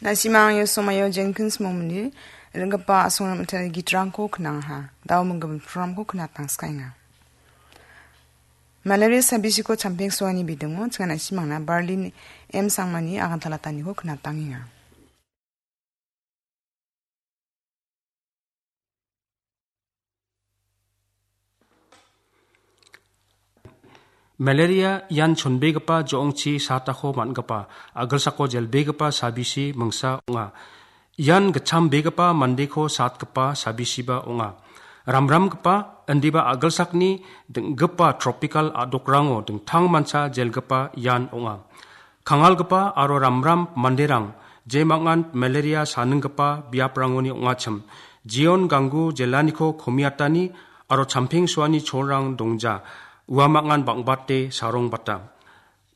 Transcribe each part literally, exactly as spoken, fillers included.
Na·simang ia somoio Jenkins Momni ringgipa a·songrang mitari gitrangko knangaha. Dao minggimin programko knatangskaenga. Malaria sabisiko champeng soani bidingo chingana·simangna Berlin M Sangmani agantalataniko knatangenga. Malaria ian chonbegipa jo·ongchi satako man·gipa, a·gilsako jelbegipa sabisi mingsa ong·a. Ian gitchambegipa mandeko satgipa sabisiba ong·a. Ramramgipa, indiba a·gilsakni ding·gipa tropical a·dokrango dingtang mancha jelgipa ian ong·a. Kangalgipa aro ramram manderang jemangan malaria saninggipa biaprangoni ong·achim, jeon ganggu jelaniko komiatani aro champeng soani cholrang dongja, uamangan bang·bate sarongbata.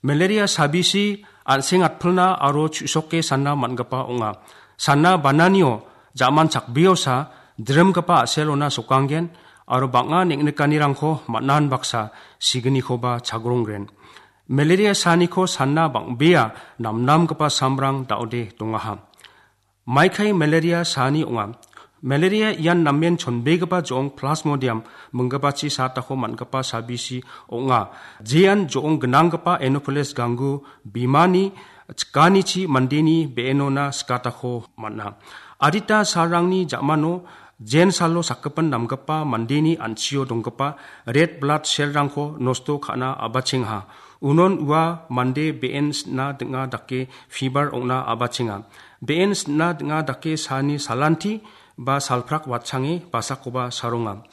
Malaria sabisi an·seng atpilna aro chu·soke sanna man·gipa ong·a. Sanna bananio ja·man chakbiosa drimgipa a·selona sokanggen aro bang·a neng·nikanirangko man·an baksa signikoba chagrongren. Malaria saniko sanna bang·bea namnamgipa samrang da·ode dongaha. Maikai malaria sani ong·a. Malaria ian namen chonbegipa jo·ong Plasmodium minggipachi satako man·gipa sabisi ong·a. Jean jo·ong gnanggipa Anopheles ganggu bimani chikanichi mandeni be·enona skatako man·a. Adita salrangni ja·mano jensalo sakgipin namgipa mandeni an·chio donggipa red blood cell-rangko nosto ka·na a·bachengaha. Unon ua mande be·en sina ding·a dake fever ong·na a·bachenga. Be·en sina ding·a dake saani salanti ba salprak watchange basakoba saronga.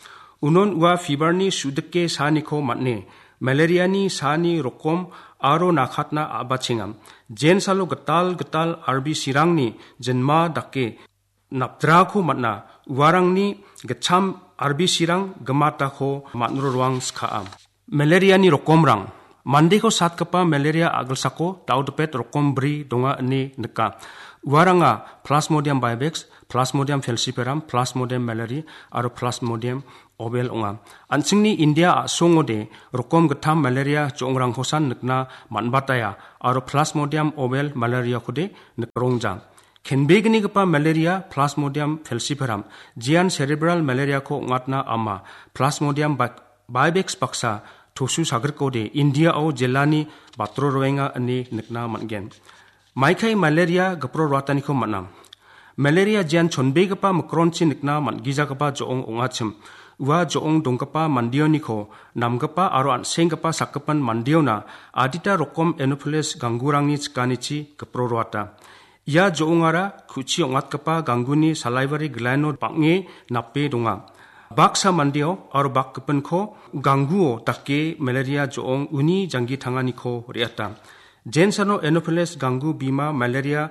Unon ua fever-ni su·dike saaniko man·e, malaria-ni saani rokom aro nakatna a·bachenga. Jensalo gital gital R B C-rangni jinma dake napdrako man·a, uarangni gitcham R B C-rang gimatako man·roroang skaa. Malaria-ni rokomrang. Mandeko satgipa malaria a·gilsako daudipet rokom bri donga ine nika. Uaranga Plasmodium vivax, Plasmodium falciparum, Plasmodium malariae aro Plasmodium ovale ong·a. An·chingni India a·songode rokom gittam malaria jo·ongrangkosan nikna man·bataia aro Plasmodium ovale malariakode nikrongja. Kenbegnigipa malaria Plasmodium falciparum, jean cerebral malariako ong·atna ama, Plasmodium bi-, bivax baksa tosu sagrikode Indiao jelani batro roenga ine nikna man·gen. Maikai malaria gipro roataniko man·a. Malaria jean chonbegipa mikronchi nikna man·gijagipa jo·ong ong·achim. Ua jo·ong donggipa mandeoniko namgipa aro an·senggipa sakgipan mandeona adita rokom Anopheles ganggurangni chikanichi gipro roata. Ia jo·ongara ku·chi ong·atgipa gangguni salaiwari gland-o bang·e nape donga. Baksa mandeo aro bakgipinko gangguo dake malaria jo·ong uni janggi tanganiko re·ata. Jensano Anopheles ganggu bima malaria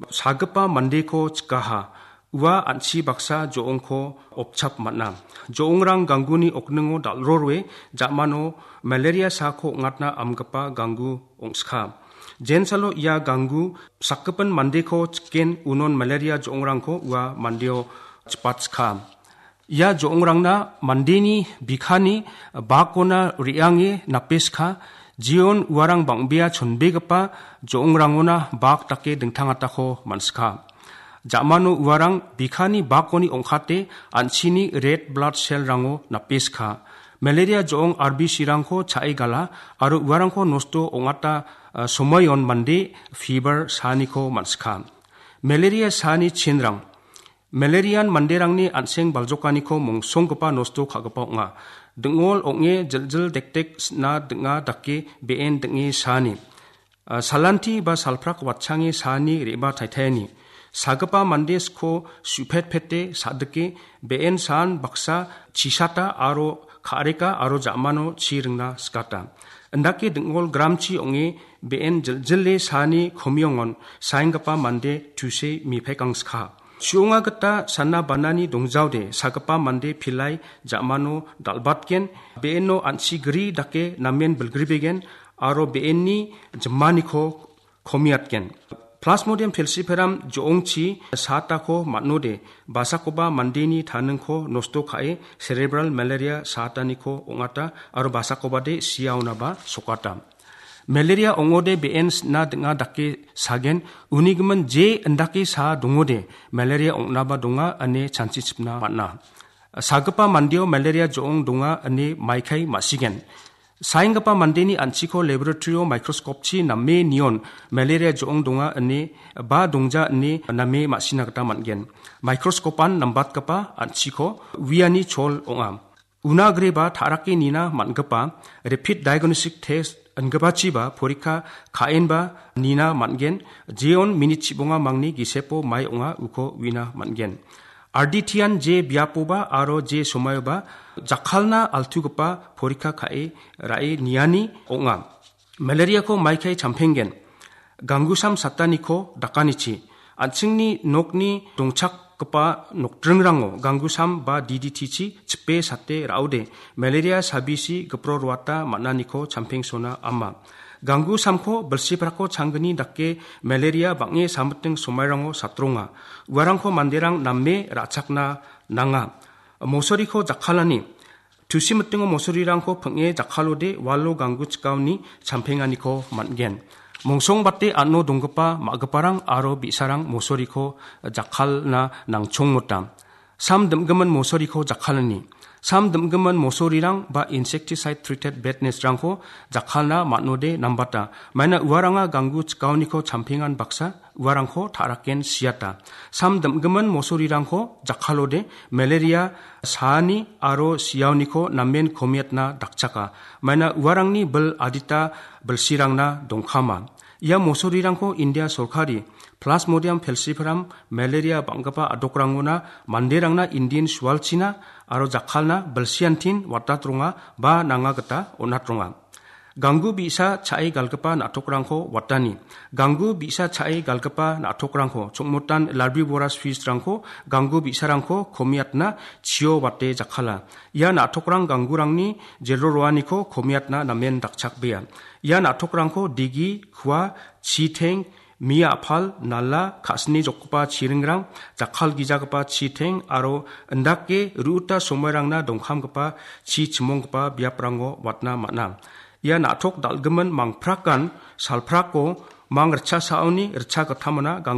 sagipa mandeko chikaha. Ua an·chi baksa jo·ongko opchap man·a. Jo·ongrang gangguni okningo dal·roroe ja·mano malaria saako ong·atna amgipa ganggu ong·ska. Jensalo ia ganggu sakgipin mandeko chiken unon malaria jo·ongrangko ua mandeo chipatska. Ia jo·ongrangna mandeni bikhani bakona re·ange napeska, jeon uarang bang·bea chonbegipa jo·ongrangona bak dake dingtangatako man·ska. Ja·mano uarang bikhani bakoni ong·kate an·chini red blood cell-rango napeska. Malaria jo·ong R B C-rangko cha·e gala aro uarangko nosto ong·ata, ah, somoion mande fever saaniko man·ska. Malaria saani chinrang. Malarian manderangni an·seng baljokaniko mongsonggipa nosto ka·gipa ong·a. Ding·ol ong·e jiljil dekdek sina ding·a dake be·en ding·e saani. Ah, salanti ba salprak watchange saani re·baa taitaiani. Sagipa mande sko su·petpete sa·dike be·en saan baksa chisata aro ka·reka aro ja·mano chi ringna sikata. Indake ding·ol gramchi ong·e be·en jiljile saani komiongon saenggipa mande tuse mipek angska. Su·onga gita sana banani dongjaode sagipa mande pilai ja·mano dal·batgen, be·eno an·chi gri dake namen bilgribegen aro be·enni jimaniko komiatgen. Plasmodium falciparum jo·ongchi satako man·ode basakoba mandeni taningko nosto ka·e cerebral malaria sataniko ong·ata aro basakobade siaonaba sokata. Malaria ong·ode be·en sina ding·a dake sagen, unigimin je indake sa dongode malaria ong·naba donga ine chanchichipna man·a. Sagipa mandeo malaria jo·ong donga ine maikai ma·sigen. Saenggipa mandeni an·chiko laboratory-o microscope-chi name nion malaria jo·ong donga ine ba dongja ine name ma·sina gita man·gen. Microscope-an nambatgipa an·chiko uiani chol ong·a. Una agreba ta·rake nina man·gipa rapid diagnostic test ingipachiba porikka ka·enba nina man·gen, jeon minit chibonga mangni gisepo mai ong·a uko uina man·gen. Arditian je biapoba aro je somaioba jakkalna altugipa porikka ka·e ra·e niani ong·a. Malariako maikai champenggen. Ganggusam sataniko dakanichi. An·chingni nokni dongchakgipa nokdringrango ganggusam ba D D T-chi chipe sate ra·ode malaria sabisi gipro ruata man·aniko champengsona ama. Ganggusamko bilsiprako changgni dake malaria bang·e samiting somairango satronga. Uarangko manderang name ra·chakna nanga. Mosoriko jakkalani. Tusi mitingo mosorirangko ping·e jakkalode walo ganggu chikaoni champenganiko man·gen. Mongsongbate ano donggipa ma·giparang aro bi·sarang mosoriko jakkalna nangchongmota. Sam dim·gimin mosoriko jakkalani. Sam dim·gimin mosorirang ba insecticide treated bed nest-rangko jakkalna man·ode nambata. Maina uaranga ganggu chikaoniko champengan baksa uarangko ta·raken siata. Sam dim·gimin mosorirangko jakkalode malaria saani aro siaoniko namen komiatna dakchaka. Maina uarangni bil adita bilsirangna dongkama. Ia mosorirangko India sorkari Plasmodium falciparum malaria bang·gipa adokrangona manderangna indin sualchina aro jakkalna bilsiantin watatronga ba nanga gita on·atronga. Ganggu bi·sa cha·e galgipa na·tokrangko watani. Ganggu bi·sa cha·e galgipa na·tokrangko chongmotan larbivoras fish-rangko ganggu bi·sarangko komiatna chio wate jakkala. Ia na·tokrang ganggurangni jero roaniko komiatna namen dakchakbea. Ia na·tokrangko digi, kua, chiteng, mi a·pal, nala, ka·sini jokgipa chiringrang, jakkal gijagipa chiteng aro indake ru·uta somoirangna dongkamgipa chi chimonggipa biaprango watna man·a. Ia na·tok dal·gimin mangprakan salprako mang ritchasaoni ritchagittamona gang-